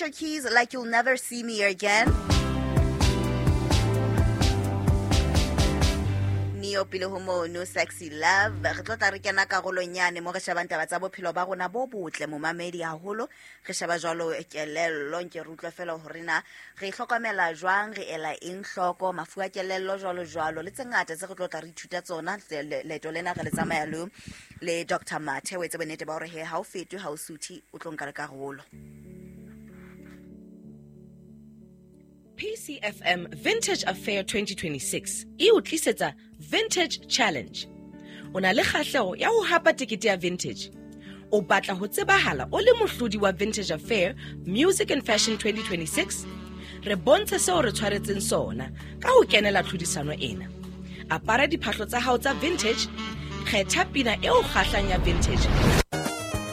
Alicia Keys, Like You'll Never See Me Again. Neo pele ho mono, Sexy Love. Re tlo tla re kena karolong yane mo re shebang taba tsa bophelo ba rona bo botle momamedi haholo. Re sheba jwalo kelello, nke re utlwe fela hore na re hlokomela jwang, re ela eng hloko, mafu a kelello jwalo jwalo, le tse ngata tse re tlo tla re ithuta tsona. Leeto lena re le tsamaya le Doctor Mathe, o etse bonnete ba hore he ha o fetwe, ha o suthe, o tlo nka le karolo. PCFM Vintage Affair 2026 e o tlisetsa Vintage Challenge. O na le kgahleho ya ho hapa tekete ya Vintage. O batla ho tsebahala o le mohlodi wa Vintage Affair Music and Fashion 2026? Re bontshe seo re tshwaretseng sona ka ho kenela tlhodisano ena. Apara diphahlo tsa hao tsa vintage, kgetha pina e o kgahlang ya vintage,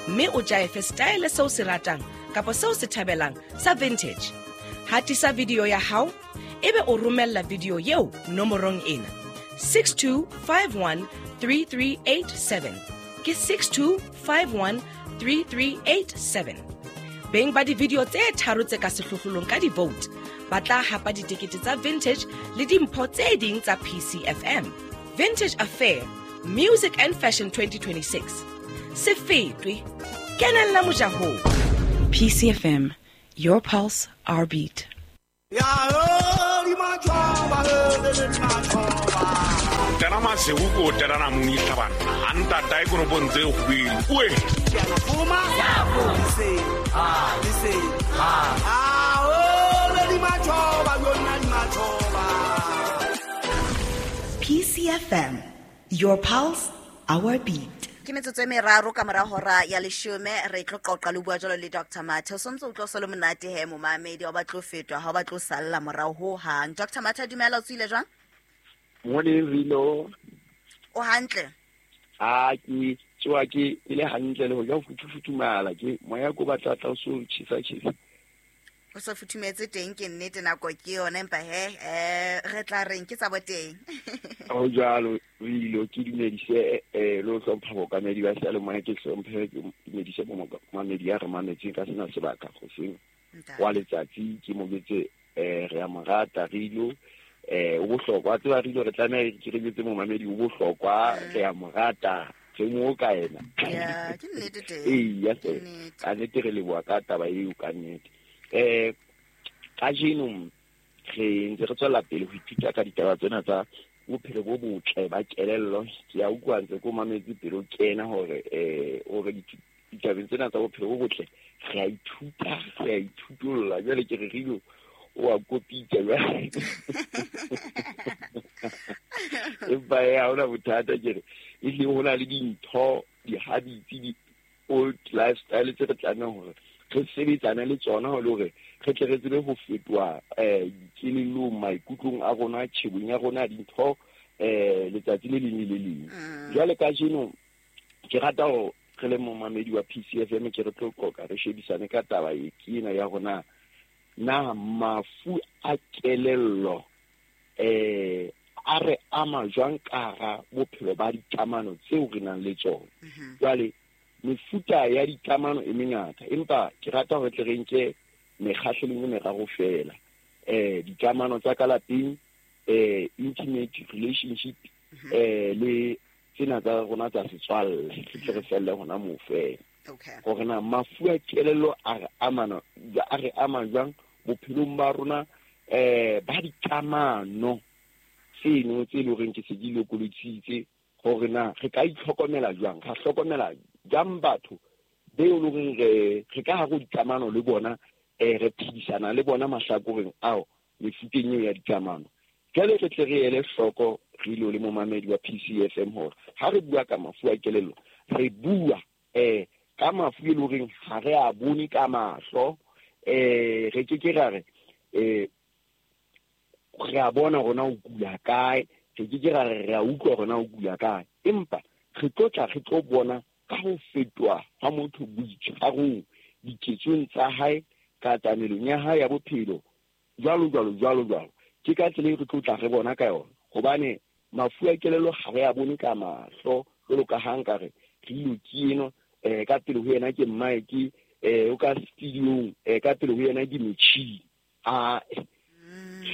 mme o jaefe style seo se ratang kapa seo se thabelang sa vintage. Hatisa video ya hao, ebe o romella video eo nomorong ena 62513387. Ke 62513387. Beng ba di-video tse tharo tse ka sehlohlolong ka di-vote ba tla hapa ditekete tsa vintage le dimpho tse ding tsa PCFM. Vintage Affair Music and Fashion 2026. Se fetwe, kenella mojahong. PCFM, your pulse, our beat. Tena masiku ko tena na mong itlhabana. A ntata e koropong tse kgwedi. Oe! PCFM, your pulse, our beat. Ke metsotso e meraro ka mora hora ya leshome, re tlo qoqa le bua jwalo le Doctor Mathe. O sontse o tlo so le monate he momamedi, ha o batle ho fetwa, ha o batle ho salla morao ho hang. Doctor Mathe, dumela, o tswile jwang? Morning, Rino. O hantle? A ke tsoa ke le hantle le ho ja ho futhumala, ke moya ko batla tla o so tjhesa tjhesa. O so futhumetse teng, ke nnete, nako ke yona, empa he, re tla reng ke tsa boteng. Ho jwalo, Rino, ke dumedise, le ho hlompha bokamedi ba seyalemoya, ke hlomphe, ke dumedise bo momamedi ya re mametseng ka sena sebaka hoseng wa letsatsi, ke mo jwetse, re a mo rata, Rino. O bohlokwa, tseba Rino, re tlameha ke re jwetse momamedi o bohlokwa, re a mo rata, re mo ka yena. Ya, ke nnete teng. Ee, ya Ke se. nnete. Ka nnete re leboha ka taba eo, ka nnete. Kajeno re ntse re tswela pele ho ithuta ka ditaba tsena tsa bophelo bo botle ba kelello. Ke a utlwa ntse ko mametse pele o kena hore ditabeng tsena tsa bophelo bo botle re a ithuta, re a ithutolla. Jwale ke re Rino o a kopitsa jwale. Empa ha hona bothata, ke re ehlile ho na le dintho, di-habits, di-old lifestyle tse re tlamehang hore re sebetsane le tsona ho le hore re tle re tsebe ho fetoha, dikelellong, maikutlong a rona, tjhebong ya rona, dintho, letsatsi le leng le le leng. Jwale kajeno ke rata hore re le momamedi wa PCFM ke re tlo qoqa, re shebisane ka taba e ke ena ya rona, na mafu a kelello, a re ama jwang ka hara bophelo ba dikamano tseo re nang le tsona. Jwale mefuta ya dikamano e mengata, empa ke rata hore tle re nke mekgahlelong e meraro fela. Dikamano tsa ka lapeng, intimate relationship, le tsena tsa rona tsa setswalle, re tle re felle hona moo fela. Hore na mafu a kelello a re amana, a re ama jwang bophelong ba rona, ba dikamano tseno tse leng horeng ke se di lokolositse, hore na re ka itlhokomela jwang, ra hlokomela jwang batho beo leng hore re ka hare ho dikamano le bona, re phedisana le bona mahlakoreng ao mefuteng eo ya dikamano. Jwale re tle re ele hloko re ilo le momamedi wa PCFM hore ha re bua ka mafu a kelello, re bua, ka mafu e leng horeng ha re a bone ka mahlo, re ke ke ra re, re a bona hore na o kula kae, re ke ke ra re re a utlwa hore na o kula kae, empa re tlo tla re tlo bona ka ho fetoha ha motho boitshwarong, diketsong tsa hae, ka tamelong ya hae ya bophelo, jwalo, jwalo, jwalo, jwalo. Ke ka tsela e re tlo tla re bona ka yona, hobane mafu a kelello ha re a bone ka mahlo, jwalo ka ha nka re, re ilo ke eno, ka pele ho yena ke mmae, ke o ka studiong ka pele ho yena ke metjhini. A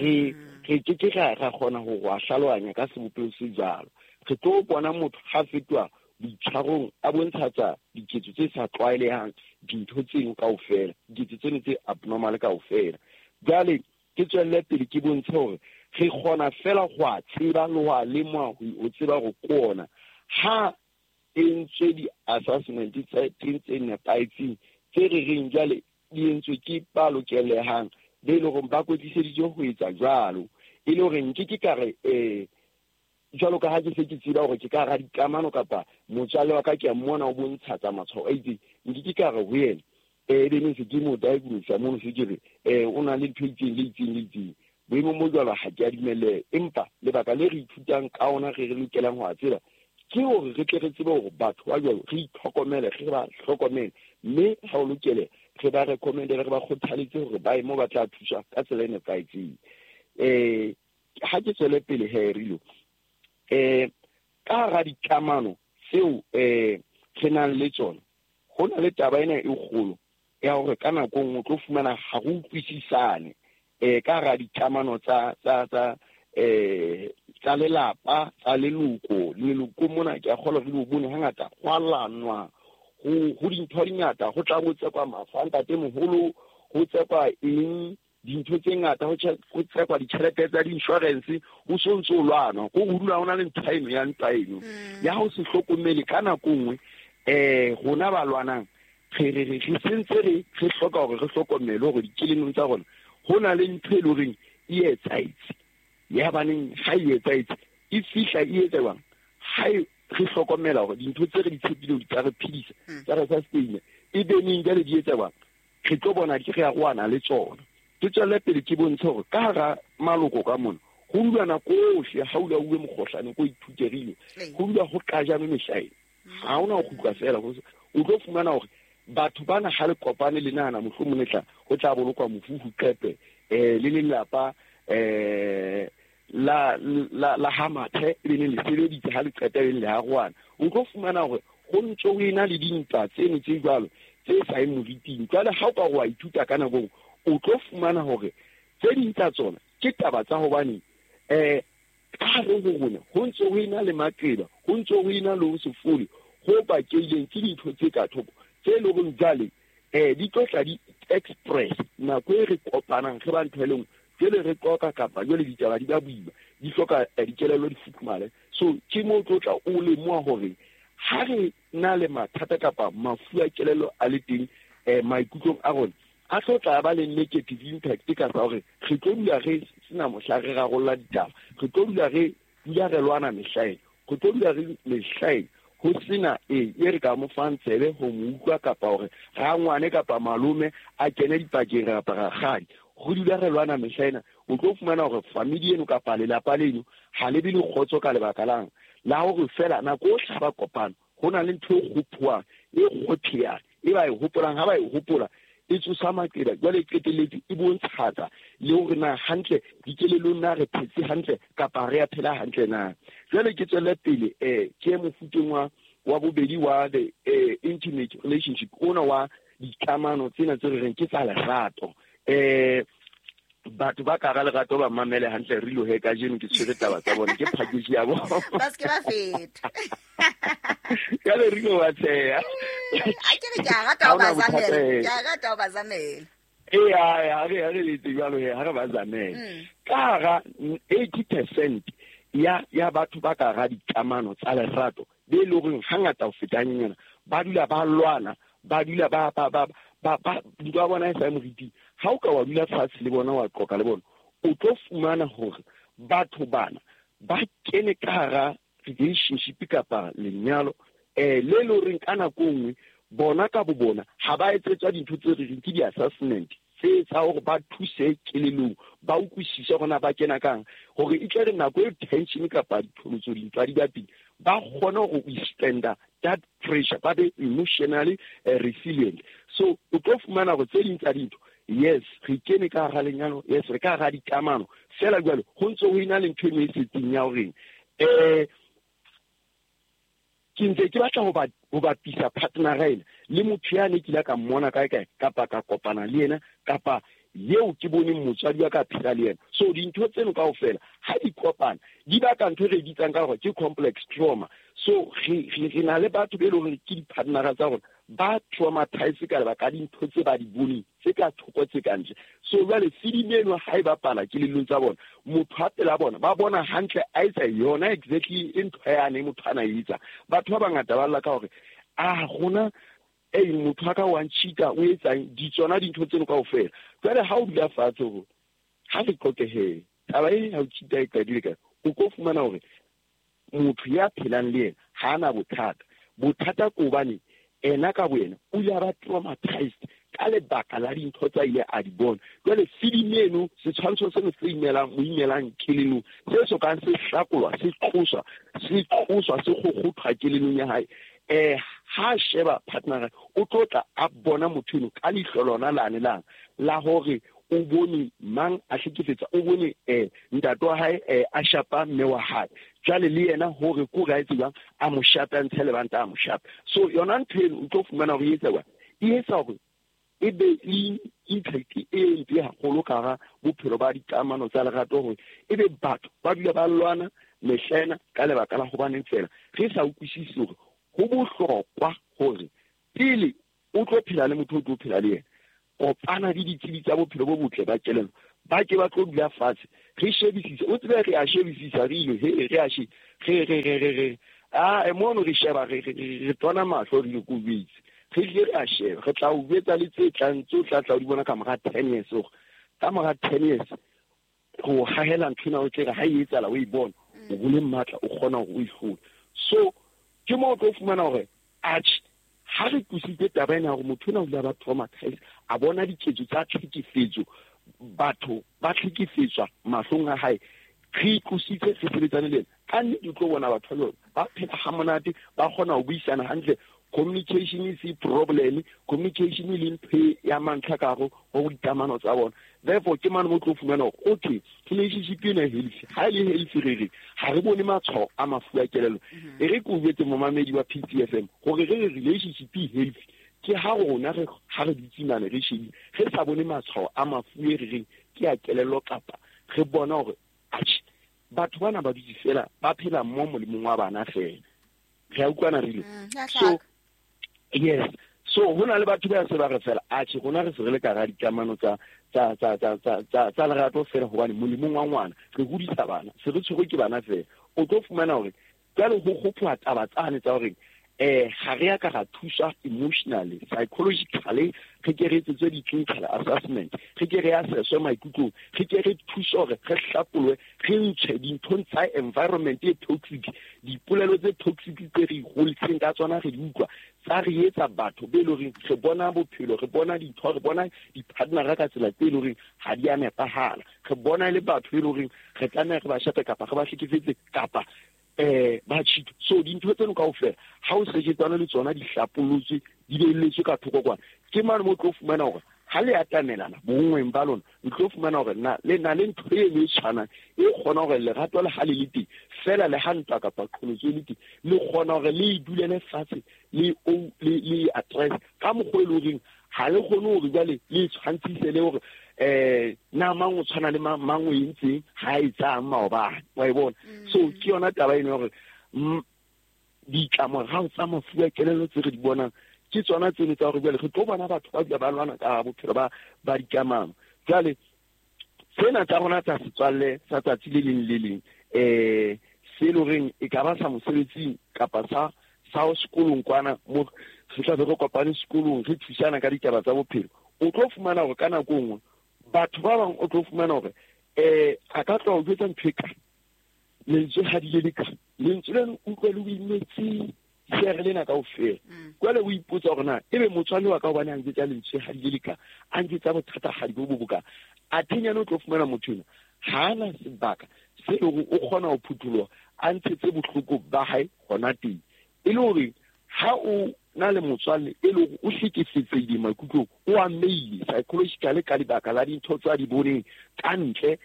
re ke ke ra kgona ho go hlalohanya ka sebopeho se jwalo. Re tlo bona motho ha fetoha boitshwarong a bontshatsa diketso tse sa tlwaelehang, dintho tseno kaofela, diketso tseno tse abnormal kaofela. Jwale ke tswelle pele ke bontshe hore re kgona fela go a tseba le go a lemoha, ho tseba hore ke ona ha entswe di-assessment tsa teng tse nepahetseng tse re reng jwale di entswe ke ba lokelehang, be e leng hore ba kwetliseditswe ho etsa jwalo. E le hore nke ke ka re jwalo ka ha ke se ke tseba hore ke ka hara dikamano kapa motswalle wa ka ke a mmona o bontshatsa matshwao a itseng, nke ke ka re ho yena ebe ne se ke mo diagnose mono, se ke re o na le ntho e itseng le itseng le itseng. Boemong bo jwalo ha ke a dumelle, empa lebaka le re ithutang ka ona re lokelang ho a tseba ke hore re tle re tsebe hore batho ba jwalo re itlhokomele, re ba hlokomele, mme ha o lokele re ba recommend-ele, re ba kgothaletse hore ba ye moo ba tla thuswa ka tsela e nepahetseng. Ha ke tswele pele he Rilo, ka hara dikamano tseo re nang le tsona, ho na le taba ena e kgolo ya hore ka nako e nngwe o tlo fumana ha re utlwisisane ka hara dikamano tsa tsa tsa tsa lelapa, tsa leloko. Leloko mona ke a kgolwa re di bone hangata ho a lwanwa, ho dintho di ngata, ho tla bo tsekwa mafa a ntatemoholo, ho tsekwa eng, dintho tse ngata, ho tsekwa ditjhelete tsa di-insurance, ho so ntso lwanwa. Ko ho dula ho na le ntho eno ya ntwa eno ya ho se hlokomele ka nako nngwe. Rona ba lwanang re sentse re hloka hore re hlokomele hore dikelellong tsa rona ho na le ntho e leng horeng e etsahetse. Ya baneng ha e etsahetse, e fihla e etsa jwang? Ha re hlokomela hore dintho tse re di tshepileng di tla re phedisa, tsa re sustain, e be neng jwale di etsa jwang? Re tlo bona ke re arohana le tsona. Ke tswelle pele ke bontshe hore ka hara maloko ka mona ho dula nako ohle, ha o dula o bue mokgohlane ko ithuterile, ho dula ho qajame mehlaena, ha hona ho kgutla fela. O tlo fumana hore batho bana ha le kopane le nahana mohlomong le tla ho tla bolokwa mofu ho qepe le lelapa la la la ha mathe e be le sebeditse ha le qeta e le arohana. O tlo fumana hore ho ntso ho ena le dintwa tseno tse jwalo tse sa yeng moriting. Jwale ha o ka wa ithuta ka nako, o tlo fumana hore tse ding tsa tsona ke taba tsa hobane ka hare ho rona ho ntso ho ena le maqeba, ho ntso ho ena le ho se fole ho bakileng ke dintho tse ka thoko tse leng hore jwale di tlo tla di express nako e re kopanang re ba ntho e leng jwale re qoqa kapa jwale ditaba di ba boima, di hloka dikelello di futhumale. So ke moo tlo tla o lemoha hore ha re na le mathata kapa mafu a kelello a le teng maikutlong a rona, a tlo tla ba le negative impact ka sa hore re tlo dula re sena mohla re rarolla ditaba, re tlo dula re dula re lwana mehlaena, re tlo dula re mehlaena ho sena e re ka mo fang tsebe ho mo utlwa kapa hore rangwane kapa malome a kene dipakeng kapa rakgadi. Ho dula re lwana mehlaena, o tlo fumana hore family eno kapa lelapa leno ha le be le kgotso ka lebaka lang la hore fela nako o hlaba kopano ho na le ntho e kgophuwang, e kgotheyang, e ba e hopolang, ha ba e hopola e tsosa maqeba. Jwale e qetelletse e bontshatsa le hore na hantle dikelellong na re phetse hantle kapa re a phela hantle na. Jwale ke tswelle pele ke mofuteng wa bobedi wa the intimate relationship ona wa dikamano tsena tse re reng ke tsa lerato. Batho ba ka hara lerato ba mamele hantle re lo he kajeno ke tshwere taba tsa bona, ke package ya bona. Ba se ke ba feta. Ka le re lo wa tsheha. A ke re ke a rata ho ba zamela, ke a rata ho ba zamela. Ee, ha re letse jwalo he, ha re ba zamele. Ka hara 80% ya batho ba ka hara dikamano tsa lerato be e leng hore hangata ho feta hanyenyana ba dula ba lwana, ba dula ba ba ba ba ba ntwa bona e sa moriting. Ha o ka wa dula fatshe le bona wa qoqa le bona, o tlo fumana hore batho bana ba kene ka hara relationship kapa lenyalo le le horeng ka nako nngwe bona ka bo bona ha ba etsetswa dintho tse re reng ke di-assessment tse tsa hore ba thuse kelellong, ba utlwisise hore na ba kena kang, hore e tle re nako e tension kapa ditholotso dintwa di ba teng, ba kgone ho withstand that pressure, ba be emotionally resilient. So o tlo fumana hore tse ding tsa dintho, yes re kene ka hara lenyalo, yes re ka hara dikamano, fela jwale ho ntso ho ena le ntho e nngwe e setseng ya horeng ke ntse ke batla ho bapisa partner ena Le motho ya ne ke ile ka mmona kae kae kapa ka kopana le yena kapa yeo ke boneng motswadi wa ka phela le yena. So dintho tseno kaofela ha di kopana di baka ntho e re bitsang ka hore ke complex trauma. So re na le batho be e leng hore ke di-partnera tsa rona ba traumatize ka lebaka dintho tse ba di boneng tse ka thoko tse ka ntle. So jwale filimi eno ha e bapala kelellong tsa bona, motho a pela bona ba bona hantle a etsa yona exactly e ntho yane motho ana e etsa. Batho ba bangata ba lla ka hore a rona ei motho a ka wa ntšhita o etsang di tsona dintho tseno kaofela. Jwale ha o dula fatshe hore ha re qoqehe taba e ha o cheata e qadile kae, o tlo fumana hore motho ya phelang le yena ha ana bothata. Bothata ke hobane ena ka boyena o ile a ba traumatized ka lebaka la dintho tsa ile a di bona. Jwale filimi eno setshwantsho seno se imelang mo imelang kelellong se sokang se hlakolwa se tloswa se tloswa se kgokgothwa kelellong ya hae. Ha sheba partner o tlo tla a bona motho eno ka leihlo lona lane lang la hore o bone mang a hlekefetsa, o bone ntate wa hae a shapa mme wa hae. Jwale le yena hore ko re a etse jwang a mo shape a ntshe lebanta a mo shape. So yona ntho eno o tlo fumana hore e etsa jwang, e etsa hore e be le impact e mpe haholo ka hara bophelo ba dikamano tsa lerato, hore e be batho ba dula ba lwana mehlena ka lebaka la hobaneng fela re sa utlwisise hore ho bohlokwa hore pele o tlo phela le motho o tlo phela le yena, kopana le ditsebi tsa bophelo bo botle ba kelello, ba ke ba tlo dula fatshe re shebisise. O tsebe re a shebisisa re ile he re a she re re re re re a mono re sheba re re tona mahlo re ile ko jwetse re ile re a sheba re tla o jwetsa le tse tlang tso tla tla o di bona ka mora 10 years hore ka mora 10 years go hahela ntho ena o tle re ha e etsahala o e bona o bole matla o kgona hore o e hlole. So ke mo o tlo fumana hore atjhe ha re tlositse taba ena hore motho ena o ile a ba traumatized a bona diketso tsa tlhekefetso, batho ba hlekefetswa mahlong a hae, re itlositse re sebetsane le yena. Ka nnete o tlo bona batho ba jwalo ba phela ha monate, ba kgona ho buisana hantle. Communication e se problem, communication e le ntho ya mantlha ka hare ho dikamano tsa bona. Therefore ke mane mo tlo fumana hore okay relationship ena e healthy, ha e le healthy re re ha re bone matshwao a mafu a kelello. E re ke o jwetse momamedi wa PTFM hore re re relationship e healthy ke ha rona re ha re dutse mane re shebile re sa bone matshwao a mafu e re reng ke a kelello, kapa re bona hore atjhe batho bana ba dutse fela ba phela mo molemong wa bana fela. Re a utlwana re ile. So yes, so ho na le batho ba se ba re fela atjhe rona re se re le ka hara dikamano tsa tsa tsa tsa tsa tsa tsa lerato fela hobane molemong wa ngwana re hodisa bana, se re tshwerwe ke bana fela. O tlo fumana hore jwale ho kgophoha taba tsane tsa hore ha re ya ka ra thuswa emotionally, psychologically, re ke re etsetswe di-clinical assessment, re ke re assesswe maikutlong, re ke re thuswe hore re hlapolwe, re ntshwe dinthong tsa environment e toxic, dipolelo tse toxic tse re holetseng ka tsona re di utlwa, tsa re etsa batho be leng horeng re bona bophelo, re bona dintho, re bona di-partnera ka tsela tse leng horeng ha di a nepahala, re bona le batho be leng horeng re tlameha re ba shape kapa re ba hlekefetse kapa ba cheat. So dintho tseno kaofela ha o sejetsana le tsona di hlapolotswe di beelletswe ka thoko kwana, ke mane mo tlo fumana hore ha le atamelana bonngweng ba lona, o tlo fumana hore na le na le ntho e le tshwanang e kgona hore lerato le ha le le teng fela le ha ntwa kapa qholotso e le teng, le kgona hore le e dulele fatshe le o le le address ka mokgwa e leng horeng ha le kgone hore jwale le tshwantshise le hore na mang o tshwana le mang o entseng ha e tsang maobane, wa e bona. So ke yona taba eno hore ditlamorao tsa mafu a kelello tse re di bonang ke tsona tseno tsa hore jwale re tlo bona batho ba dula ba lwana ka bophelo ba dikamano. Jwale tsena tsa rona tsa setswalle sa tsatsi le leng le leng se le horeng e ka ba sa mosebetsing kapa sa sekolong kwana mo re tla be re kopane sekolong re thusana ka ditaba tsa bophelo, o tlo fumana hore ka nako nngwe batho ba bang o tlo fumana hore a ka tla o jwetsa ntho e ka lentswe ha di le le ka lentswe leno utlwe le o imetse seere lena kaofela. Jwale o ipotsa hore na ebe motswalle wa ka hobane a njwetsa lentswe ha di le le ka a njwetsa bothata ha di bo bo boka, a thenyane o tlo fumana motho ena ha ana sebaka se leng hore o kgona ho phutholoha a ntshetse bohloko ba hae hona teng. E le hore ha o na le motswalle e le hore o hlekefetsehile maikutlong, o amehile psychologically ka lebaka la dintho tsa di boneng ka ntle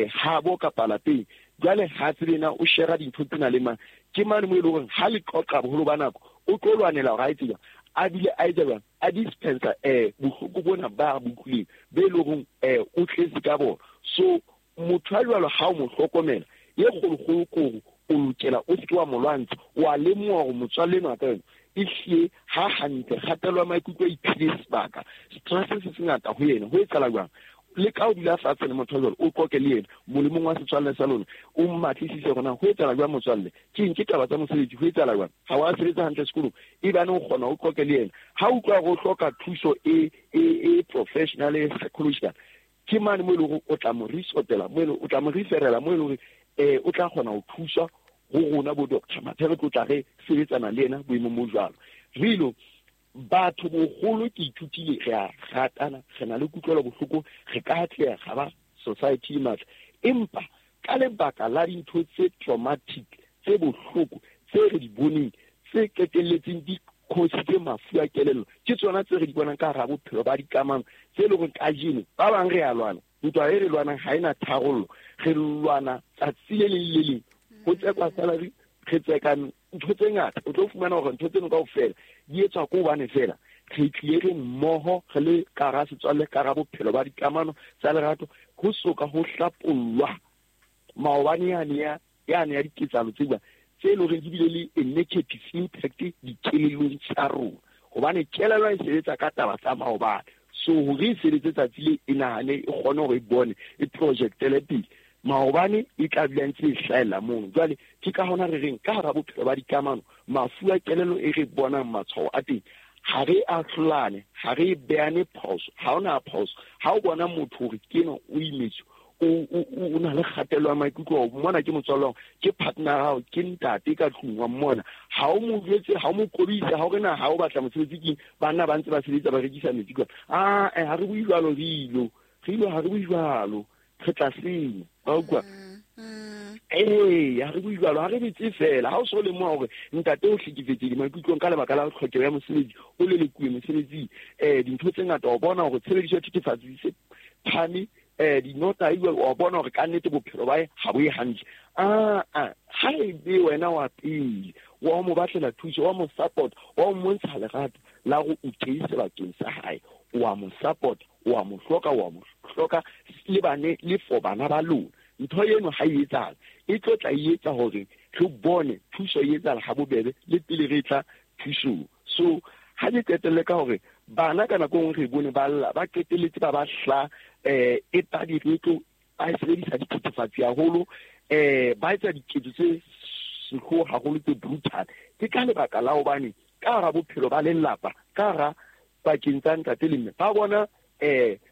habo kapa lapeng, jwale ha tsebe na o shera dintho tsena le mang, ke mane mo e leng hore ha le qoqa boholo ba nako o tlo lwanela hore ha e tseba A bile a etsa jwang? A dispensa bohloko bona ba bo utlwileng, be e leng hore o tletse ka bona. So motho a jwalo ha o mo hlokomela, ye kgolokgolo ke hore o lokela o seke wa mo lwantsha, wa lemoha hore motswalle enwa ka yona e hlile ha hantle, kgatello ya maikutlo a iphile sebaka, stress se sengata ho yena. Ho etsahala jwang? Le ka o dula fatshe le motho jwalo, o qoqe le yena molemong wa setswalle sa lona, o mmatlisise hore na ho etsahala jwang motswalle, ke eng, ke taba tsa mosebetsi, ho etsahala jwang, ha wa sebetsa hantle sekolong, ebane o kgona o qoqe le yena. Ha o utlwa hore o hloka thuso e professional, e psychological, ke mane mo e leng hore o tla mo resotela, mo e leng o tla mo referela, mo e leng hore o tla kgona ho thuswa ho rona bo Doctor Mathe, re tlo tla re sebetsana le yena boemong bo jwalo. Re ilo batho boholo ke ithutile, re a ratana, re na le kutlwelo bohloko, re ka atleha ga ba society e matla, empa ka lebaka la dintho tse traumatic, tse bohloko, tse re di boneng, tse qetelletseng di cause-itse mafu a kelello, ke tsona tse re di bonang ka hara bophelo ba dikamano, tse leng hore kajeno ba bang re a lwana, ntwa e re lwanang ha ena tharollo, re lwana tsatsi le leng le leng, ho tsekwa salary, re tseka ntho tse ngata. O tlo fumana hore ntho tseno kaofela di etswa ke hobane fela re tlile re mmoho, re le ka hara setswalle, ka hara bophelo ba dikamano tsa lerato, ho soka ho hlapollwa maobane yane ya diketsahalo tse jwang, tse leng hore di bile le a negative impact dikelellong tsa rona, hobane kelello e sebetsa ka taba tsa maobane. So hore e sebetse tsatsi le e nahane, e kgone hore e bone, e projectele pele, maobane e tla dula ntse e hlahella mono. Jwale ke ka hona re reng ka hara bophelo ba dikamano, mafu a kelello e re bonang matshwao a teng, ha re ahlolane, ha re behane phoso, ha hona phoso. Ha o bona motho hore ke enwa o imetswe, o na le kgatello ya maikutlo, o mmona ke motswalle wa hao, ke partner ya hao, ke ntate ka tlung, wa mmona, ha o mo jwetse, ha o mo kobise, ha o re na ha o batla mosebetsi keng, banna ba ntse ba sebetsa ba rekisa metsi kwana. Ha re bue jwalo, re ilo, ha re bue jwalo, re tla senya. Wa utlwa? Ee, ha re bue jwalo, ha re betse fela. Ha o so lemoha hore ntate o hlekefetsehile maikutlong ka lebaka la tlhokeho ya mosebetsi, o lelekuwe mosebetsing, dintho tse ngata, o bona hore tshebediso ya thethefatsi di se phane, dinota e jwalo, wa bona hore ka nnete bophelo ba hae ha bo ye hantle. Ha e be wena wa pele, wa mo batlela thuso, wa mo support, wa mo montsha lerato la hore o teng sebakeng sa hae, wa mo support, wa mo hloka, wa mo hloka le bane, le for bana ba lona. Ntho eno ha e etsahala, e tlo tla e etsa hore re bone thuso e etsahala ha bobebe le pele re tla thusong. So ha ke qetelle ka hore bana ka nako e nngwe re bone ba lla, ba qetelletse ba ba hla, e ba diretlo, ba sebedisa dithethefatsi haholo, ba etsa diketso tse sehloho haholo, tse brutal. Ke ka lebaka la hobane ka hara bophelo ba lelapa, ka hara pakeng tsa ntate le mme, ba bona,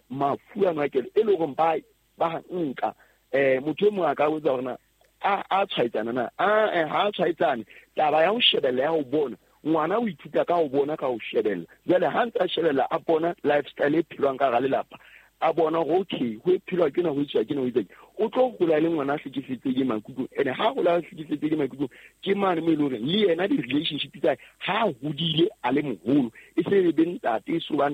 mafu a makelo e leng hore ba nka. Motho e mong a ka botsa hore na a tshwaetsana na? Ha a tshwaetsane. Taba ya ho shebella, ya ho bona, ngwana o ithuta ka ho bona, ka ho shebella. Jwale ha ntse a shebella, a bona lifestyle e phelwang ka hara lelapa, a bona hore okay, ho phelwa ke na, ho etswa ke na, ho etswa ke. O tlo hola le ngwana a hlekefetsehile maikutlong. Ene ha hola a hlekefetsehile maikutlong, ke mane mo e leng hore le yena di-relationship tsa hae, ha a hodile a le moholo, e se e be ntate, e so ba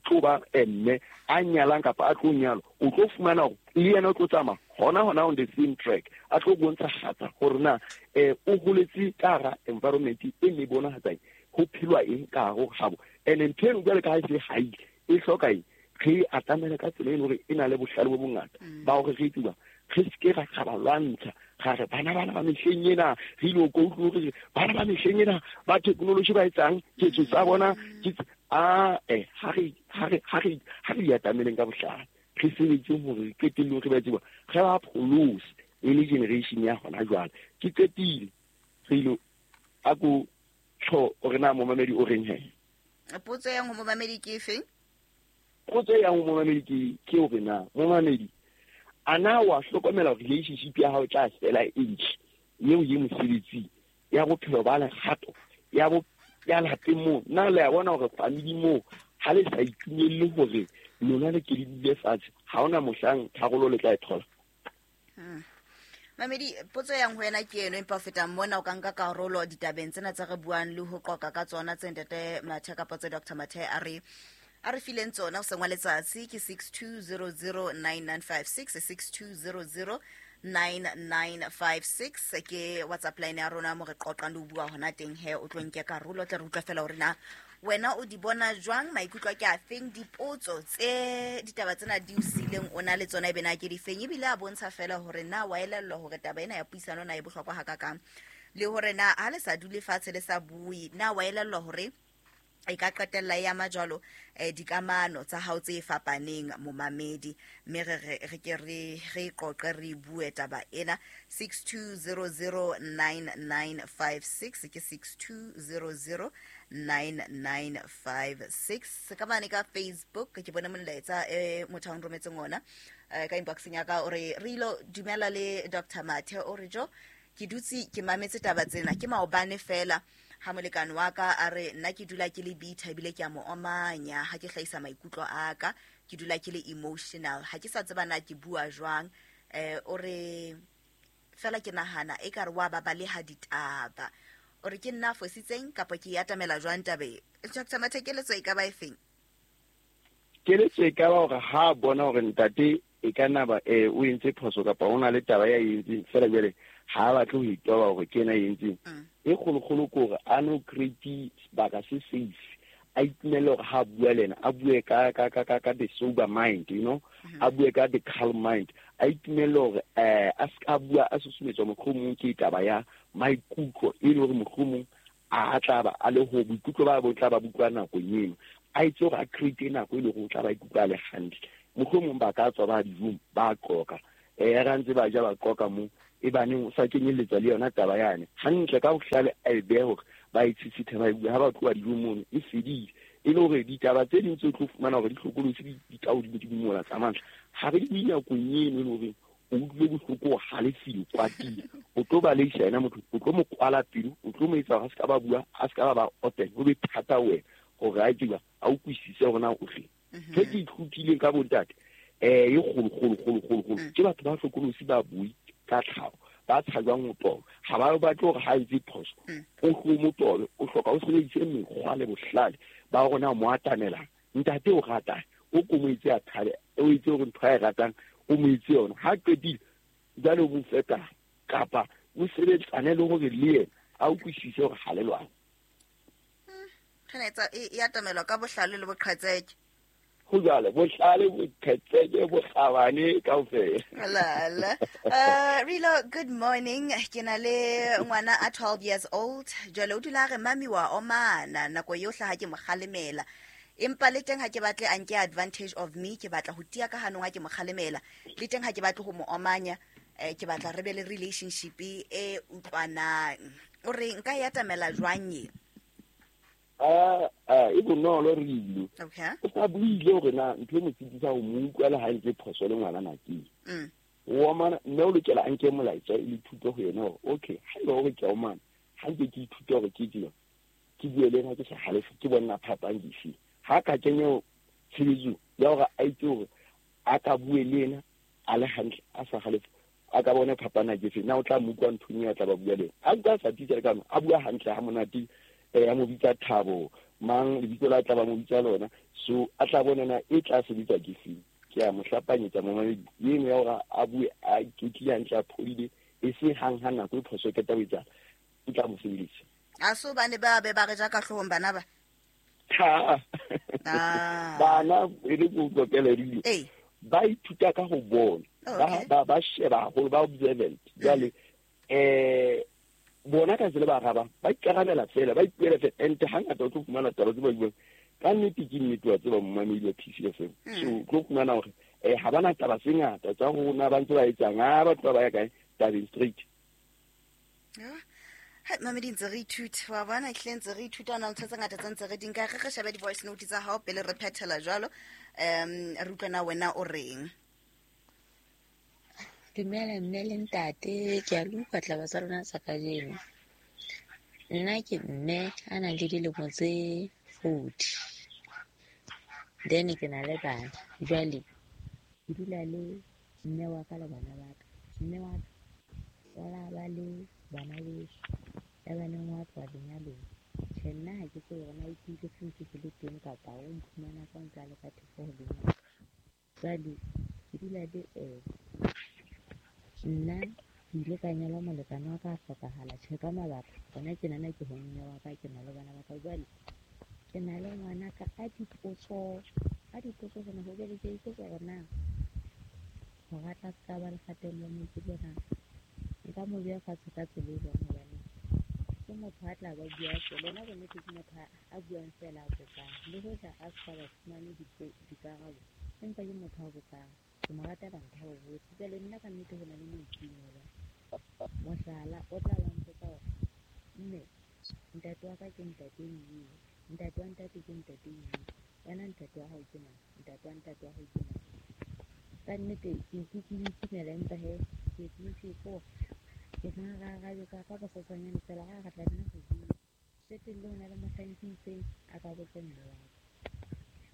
tlo ba mme a nyalang kapa a tlo nyalwa, o tlo fumana hore le yena o tlo tsamaya hona hona on the same track, a tlo bontshahatsa hore na, o holetse ka hara environment e ne bonahatsang ho phelwa eng ka hare ho habo. Ene ntho eno jwale ka ha e se haile, e hloka eng? Re atamele ka tsela e leng hore e na le bohlale bo bongata ba hore re tseba, re seke ra ba lwantsha, ra re bana bana ba mehleng ena, re ile ko utlwe hore bana ba mehleng ena ba technology ba etsang ketso tsa bona ke tse, ha re, ha re, ha re, ha re di atameleng ka bohlale, re sebetse hore re qetellong re ba tseba, re ba pholose e le generation ya hona jwale. Ke qetile, re ilo a ko tjho hore na momamedi o reng he. Potso ya ho momamedi ke efe? Potso ya ho momamedi ke hore na momamedi a na wa hlokomela hore relationship ya hao e tla fela e ntle, eo ye mosebetsing, ya bophelo ba lerato, ya bo, ya lapeng moo, na le a bona hore family moo ha le sa itumelle hore lona le ke le dule fatshe, ha hona mohlang tharollo le tla e thola. Mamedi, potso yang ho wena ke eno, empa ho feta mona o ka nka karolo ditabeng tsena tse re buang le ho qoqa ka tsona tse Ntate Mathe kapa tse Doctor Mathe a re fileng tsona hoseng wa letsatsi ke 62009956, 62009956 ke WhatsApp line ya rona mo re qoqang le ho bua hona teng he, o tlo nke karolo, tle re utlwe fela hore na Wena o di bona jwang, maikutlo ke a feng, dipotso tse ditaba tsena di o sileng o na le tsona ebe na ke di feng, ebile a bontsha fela hore na wa elellwa hore taba ena ya puisano na e bohlokwa hakakang, le hore na ha le sa dule fatshe le sa bue, na wa elellwa hore e ka qetella e ama jwalo dikamano tsa hao tse fapaneng momamedi. Mme re ke re qoqe, re bue taba ena. 62009956 ke 62009956. Ka mane ka Facebook ke bone molaetsa motho a nrometseng ona ka inboxeng ya ka, o re re ilo dumela le Dr. Mathe, o re jo ke dutse ke mametse taba tsena ke maobane fela ha molekane wa ka a re nna ke dula ke le bitter ebile ke a mo omanya ha ke hlahisa maikutlo a ka, ke dula ke le emotional, ha ke sa tseba na ke bua jwang. O re fela ke nahana e ka re wa babaleha ditaba, o re ke nna fositseng kapa ke e atamela jwang tabe? Dr. Mathe, keletso e ka ba efeng? Keletso e ka ba hore ha bona hore ntate e ka nna ba o entse phoso kapa o na le taba ya e entseng, fela jwale ha batle ho itoba hore ke ena e entseng, e kgolokgolo ke hore a no create sebaka se safe, a itumelle hore ha bua le ena a bue ka the sober mind, you know, a bue ka the calm mind, a itumelle hore a ska bua a susumetswa mohlomong ke taba ya maikutlo, e le hore mohlomong a tla ba a le ho boikutlo ba bo tla ba bukwa nakong eno, a itse hore a create nako e le hore o tla ba ikutlwa a le hantle. Mohlomong ba ka tswa ba dijong ba qoka, ra ntse ba ja ba qoka mo, e baneng o sa kenyelletsa le yona taba yane hantle ka bohlale, a e behe hore ba e tshitshithe ba e bue ha ba tloha dijong mono e fedile. E le hore ditaba tse ding tse o tlo fumana hore di hlokolosi di ka hodimo di mola tsa mantlha, ha re di bue nakong eno e le hore o utlwile bohloko, o halefile, o kwatile, o tlo baleisa yena motho, o tlo mo kwala pelo, o tlo mo etsa hore a se ka ba bua, a se ka ba open, ho be thata wena hore a tseba a utlwisise hore na o reng. Ntho e ke ithutileng ka bontate e kgolo kgolo kgolo kgolo kgolo ke batho ba hlokolosi, ba bui ka tlhaho, ba tshajwang ho toba, ha ba batle hore ha etse phoso o hlo mo tobe, o hloka o sebedise mekgwa le bohlale ba rona mo atamelang. Ntate o ratang o ko mo etse a thabe, o etse hore ntho a e ratang o mo etse yona, ha qetile jwale o mo feta kapa o sebetsane le hore le yena a utlwisise hore ha le lwane. Re e atamelwa ka bohlale le boqhetseke. Ho jwale bohlale, boqhetseke, bokgabane kaofela. La. Rilo, good morning. Ke na le ngwana a 12 years old. Jwale o dula re mami wa omana nako yohle ha ke mo kgalemela, empa le teng ha ke batle a nke advantage of me, ke batla ho tia ka hanong ha ke mo kgalemela, le teng ha ke batle ho mo omanya, ke batla re be le relationship e utlwanang. O re nka e atamela jwang e? E bonolo Rilo. Okay. O sa buile hore na ntho e mo tshedisa ho mo utlwa le ha ntse phoso le ngwana na ke. O omana, mme o lokela a nke molaetsa e le thuto ho yena hore okay, ha eba hore ke a omana, ha nke ke ithute hore ke tseo, ke bue le ena ke sa halefe, ke bona phapang dife. Ha ka kenya tshebetso ya hore a itse hore a ka bue le ena a le hantle, a sa halefe, a ka bona phapana ke fe, na o tla mo utlwa nthong eo a tla ba bua le ena. A utlwa a sa titse le ka a bua hantle ha monate, a mo bitsa Thabo mang lebitso la tla ba mo bitsa lona, so a tla bona na e tla sebetsa ke feng. Ke a mo hlapanyetsa momamedi eno ya hore a bue a iketlile hantle, a phodile, e se hang ha nako e phoso e qeta ho etsahala, e tla mo sebeletsa. A so bane ba be ba re ja ka hloohong bana ba? Ha. Bana e le go qoqele Rilo. Ba ithuta ka ho bona. Ba sheba haholo, ba observant. Jwale bona ka tsela ba arabang, ba ikarabela fela, ba ipuela fela, and hangata o tlo fumana taba tse ba buang ka nnete ke nnete wa tseba momamedi wa PCFM. So o tlo fumana hore ha bana taba tse ngata tsa rona ba ntse ba etsang, ha ba tloha ba ya kae tabeng straight. Hai, mamedi ntse re ithuta, wa bona ehlile ntse re ithuta, hona le ntho tse ngata tse ntse re di nka. Re shebe di-voice note tsa hao pele re phethela jwalo, re utlwe na wena o reng. Dumela mme le ntate, ke a le utlwa taba tsa lona tsa kajeno. Nna ke mme a nang le dilemo tse 40, then ke na le bana. Jwale ke dula le mme wa ka le bana ba ka. Mme wa ka wa la ba le bana beso, ya baneng wa tloha lenyalong. Tjhe, nna ha ke tsebe hore na o tlile se ntse ke le teng kapa o mphumana ka ntse a le ka theko ho lenyalo. Jwale ke dula le ena. Nna ke ile ka nyalwa molekane wa ka a hlokahala, tjhe ka mabaka. Hona tjenana ke ho mme wa ka, ke na le bana ba ka. Jwale ke Ke na le ngwanaka a dipotso tsena ho jwale ke ipotsa hore na hore a tla se ka ba le kgatello ya maikutlo na. Nka mo beha fatshe ka tsela e jwang, hobane ke motho a tla ba bua fela. Yena bonnete ke motho a buang fela a botsang, le hoja a sa ba fumane dikarabo, empa ke motho a botsang. Ke mo ratela ntho ya ho botsa. Jwale nna ka nnete ho na le mo itumela. Mohlala, o tla ba mpotsa hore mme ntate wa ka ke ntate eo, ntate wa ntate ke ntate eo, wena ntate wa hao ke mang, ntate wa ntate wa hao ke mang. Ka nnete ke ke itumela, empa he ke ke ko ke nna ka bososanyane fela ha re tla nna ho bua. Qetellong ho na le mohlang ke itseng a ka botse mme wa ka.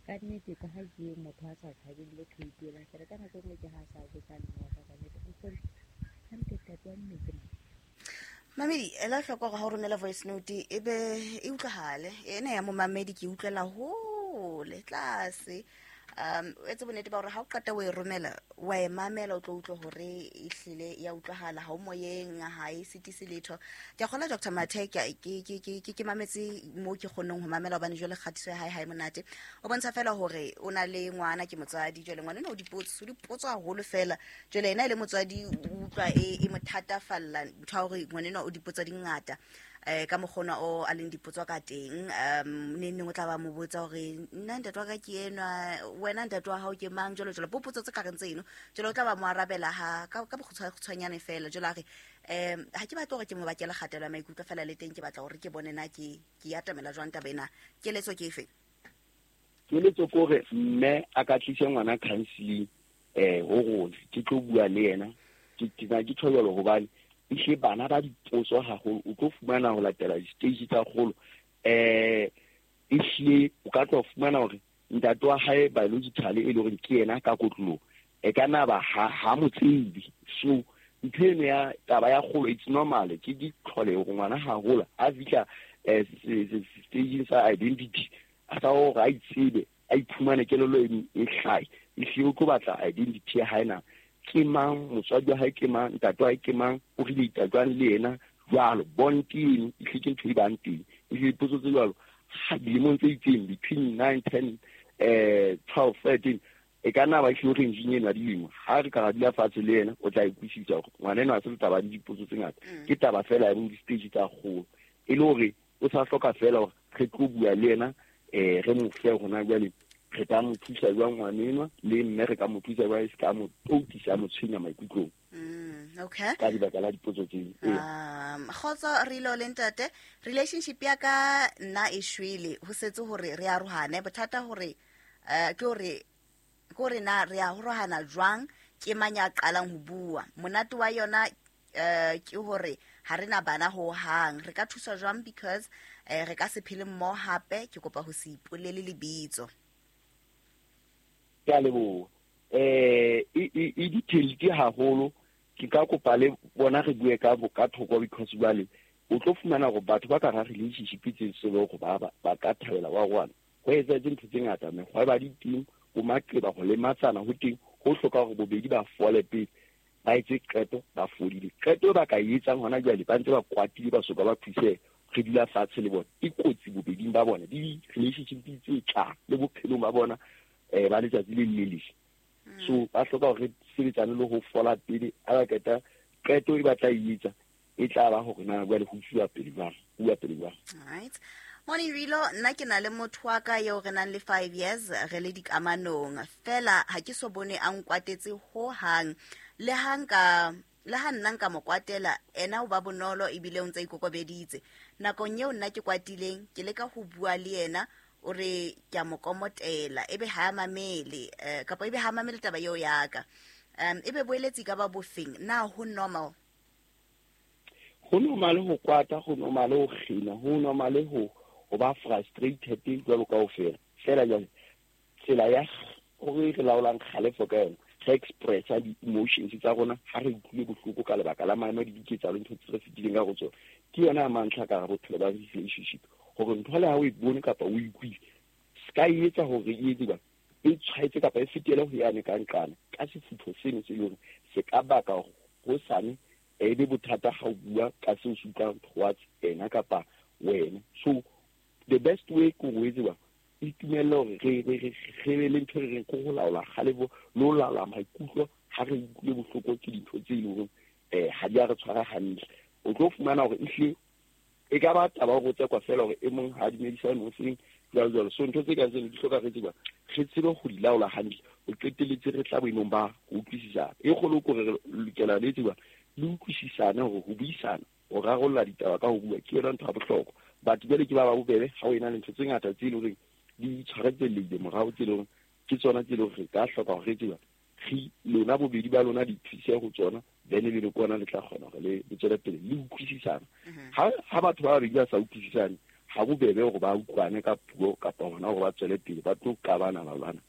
Ka nnete ka ha ke motho a sa tshabeng le ho ipuelang fela, ka nako e nngwe ke ha a sa botsa mme wa ka ka nnete, nkgono hantle ntate wa mme ke mang. Mamedi, ela hloko hore ha o romela voice note e be e utlwahale. Ena ya momamedi ke utlwela hole tlase. O etse bonnete ba hore ha o qeta o e romela, wa e mamela, o tlo utlwe hore ehlile ya utlwahala, ha o moyeng, ha e sitise letho. Ke a kgolwa Dr. Mathe, ke mametse moo ke kgonneng ho mamela, hobane jwale kgatiso ya hae ha e monate. O bontsha fela hore o na le ngwana, ke motswadi. Jwale ngwana enwa o dipotso haholo fela. Jwale yena e le motswadi, o utlwa e mo thatafalla ntho ya hore ngwana enwa o dipotso di ngata. Ka mokgona o a leng dipotso ka teng, neng neng o tla ba mo botsa hore nna ntate wa ka ke enwa, wena ntate wa hao ke mang, jwalo jwalo, potso tse ka reng tseno. Jwale o tla ba mo arabela ha ka bokgutshwanyane fela. Jwale a re, ha ke batle hore ke mo bakele kgatello ya maikutlo fela, le teng ke batla hore ke bone na ke atamela jwang taba ena. Keletso ke efe? Keletso ke hore mme a ka tlise ngwana counseling ho rona, ke tlo bua le yena. Ke na ke tjho jwalo hobane ehlile bana ba dipotso haholo, o tlo fumana ho latela di-stage tsa kgolo. Ehlile o ka tlo fumana hore ntate wa hae biologically e le hore ke yena ka kotloloho, e ka nna ba ha mo tsebe. So ntho eno ya taba ya kgolo, it's normal, ke ditlholeho hore ngwana ha hola a fihla stageng sa identity, a sa hore a itsebe, a iphumane kelello eno e hlahe. Ehlile o tlo batla identity ya hae na ke mang, motswadi wa hae ke mang, ntate wa hae ke mang, o relate jwang le yena jwalo. Bond eno ehlile ke ntho e bang teng. Ehlile dipotso tse jwalo ha dilemong tse itseng between 9, 10, 12, 13, e ka nna ba ehlile rangeng eno ya dilemo. Ha re ka ra dula fatshe le yena, o tla ikwisisa hore ngwana enwa ha se taba ya dipotso tse ngata, ke taba fela ya di-stage tsa kgolo, e le hore o sa hloka fela hore re tlo bua le yena, re mo fe hona jwale re ka mo thusa jwang ngwana enwa, le mme re ka mo thusa jwang, e se ka mo toutisa, mo tshwenya maikutlong. Okay. Ka lebaka la dipotso tseo. Kgotso re ile le ntate, relationship ya ka nna e shwele, ho setse hore re arohane. Bothata hore ke hore na re arohana jwang, ke mang ya qalang ho bua. Monate wa yona ke hore ha re na bana ho hang. Re ka thusa jwang because re ka se phele mmoho hape. Ke kopa ho se ipolele lebitso. Ke a leboha. E detailed haholo. Ke ka kopa le bona re bue ka thoko, because jwale o tlo fumana hore batho ba ka hara relationship tse se le hore ba ka thabela wa rona. Ho etsahetse ntho tse ngata, mekgwa e ba di teng, bo maqeba, ho lematsana ho teng, ho hloka hore bobedi ba fole pele, ba etse qeto, ba fodile. Qeto e ba ka e etsang hona jwale, ba ntse ba kwatile, ba soka ba thuseha, re dula fatshe le bona. E kotsi bobeding ba bona, di-relationship tse tlang le bophelong ba bona, ba letsatsi le le leng. So ba hloka hore re sebetsane le ho fola pele, ha ba qeta qeto e ba tla e etsa, e tla ba hore na jwale ho uwa pele jwang, uwa pele jwang. All right. Morning Rilo, nna ke na le motho wa ka eo re nang le 5 years re le dikamanong. Fela ha ke so bone a nkwatetse ho hang. Le ha nna nka mo kwatela, ena o ba bonolo ebile o ntse a ikokobeditse. Nakong eo nna ke kwatileng, ke leka ho bua le yena, o re ke a mo komotela, ebe ha a mamele, kapa ebe ha a mamele taba eo ya ka. Ebe boeletsi ka ba bofeng, na ho normal? Ho normal ho kwata, ho normal ho kgina, ho normal ho ba frustrated jwalo kaofela. Fela jwale tsela ya hore re laolang kgalefo ka yona, re expressa di-emotions tsa rona ha re utlwile bohloko ka lebaka la maemo a diketsahalo, ntho tse re fetileng ka go tsona, ke yona ya mantlha ka hara bophelo ba relationship. Hore ntho le ha o e bone kapa o e utlwile, se ka e etsa hore e etse jwang, e tshwaetse kapa e fetele ho yane ka nqane, ka sefutho seno se leng hore se ka baka hore hosane e be bothata ha o bua ka seo se utlwang towards ena kapa wena. So The best way ke go etsewa itumelle hore re be le ntho e re reng ke ho laola kgalefo le ho laola maikutlo ha re utlwile bohloko ke dintho tse e leng hore ha di a re tshwara hantle. O tlo fumana hore ehlile e ka ba taba hore o tsekwa fela hore e mong ha a dumedisane o seng jwalo jwalo. So ntho tse kang tseno di hloka re tseba re tsebe go di laola hantle, o qetelletse re tla boemong ba ho utlwisisana. E kgolo ke hore re lokela le tseba le utlwisisane hore ho buisana, ho rarolla ditaba ka ho bua ke yona ntho ya bohlokwa. Batho jwale ke ba ba bobebe ha o ena le ntho tse ngata tse leng hore di tshwaretsellehile morao, tse leng hore ke tsona tse leng hore re ka hloka hore re tseba re lona bobedi ba lona di thuse ho tsona, then ebe le kona le tla kgona hore le tswele pele le utlwisisana. Ha batho ba babedi ba sa utlwisisane, ha bobebe hore ba utlwane ka puo kapa hona hore ba tswele pele, ba tlo qabana ba lwana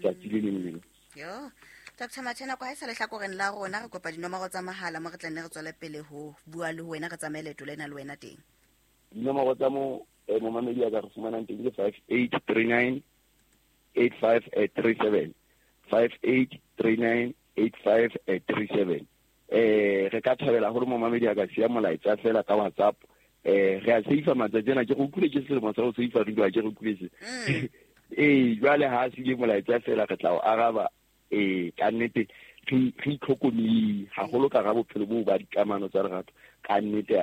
tsatsi le leng le leng. Yo, Dr. Mathe, nako ha e sa lehlakoreng la rona, re kopa dinomoro tsa mahala mo re tla nne re tswele pele ho bua le wena, re tsamaye leeto lena le wena teng. Dinomoro tsa mo momamedi a ka re fumanang teng ke 5839 8537, 5839 8537. Re ka thabela hore momamedi a ka siya molaetsa fela ka WhatsApp. Re a seifa matsatsi ana, ke re utlwile ke selemo sa ho seifa re dula ke re utlwile se. Jwale ha a siile molaetsa fela re tla o araba. Ka nnete re itlhokomele haholo ka ra bophelo boo ba dikamano tsa lerato. Ka nnete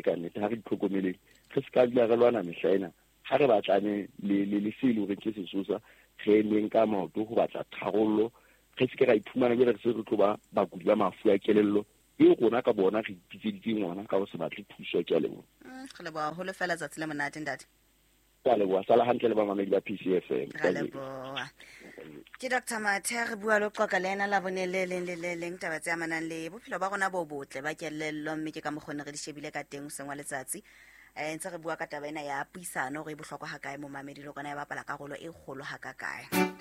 ka nnete ha re itlhokomeleng, re se ka dula re lwana mehla ena. Ha re batlane le se e leng hore ke sesosa, re emeng ka maoto ho batla tharollo, re se ke ra iphumana jwale re se re tlo ba bakudi ba mafu a kelello e rona ka bona re ipitseditseng ona ka ho se batle thuso. Ke a leboha. Re leboha haholo fela, tsatsi le monate ntate. Ke a leboha, sala hantle le bamamedi ba PCFM. Ra leboha. Ke Dr. Mathe, re bua le qoqa le ena labone le leng le le leng taba tse amanang le bophelo ba rona bo botle ba kelello, mme ke ka mokgwa ne re di shebile ka teng hoseng wa letsatsi. Ntse re bua ka taba ena ya puisano hore e bohlokwa ha kae momamedi, le rona e bapala karolo e kgolo ha ka kae.